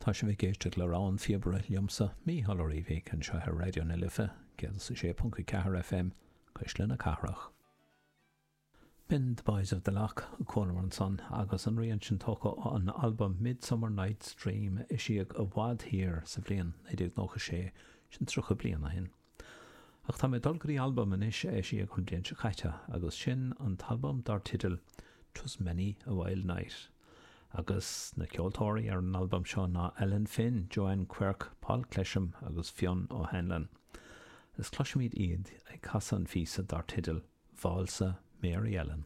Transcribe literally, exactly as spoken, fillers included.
Tá sibh ag éisteacht le Rogha an Phíobaire liomsa Mícheál Ó Riabhaigh anseo ar Raidió na Life céad a sé ponc ceathair FM Cuisle na Cathrach. B'in The Boys of the Lough a chualamar ansan agus an rian sin tógtha ón albam Midsummer Night's Dream a eisíodh i bhfad thiar sa bhliain naoi déag nócha sé sin tríocha bliain ó shin. Ach tá mé dul go dtí albam anois a eisíodh an bhliain seo caite agus sin an t-albam dar teideal 'Twas Many a Wild Night. Agus na ceoltóirí ar an albam seo ná Ellen Finn, Joanne Quirke, Paul Clesham agus Fionn O'Hanlon. Is cloisfimid iad ag casadh an phíosa dar teideal Válsa Mary Ellen.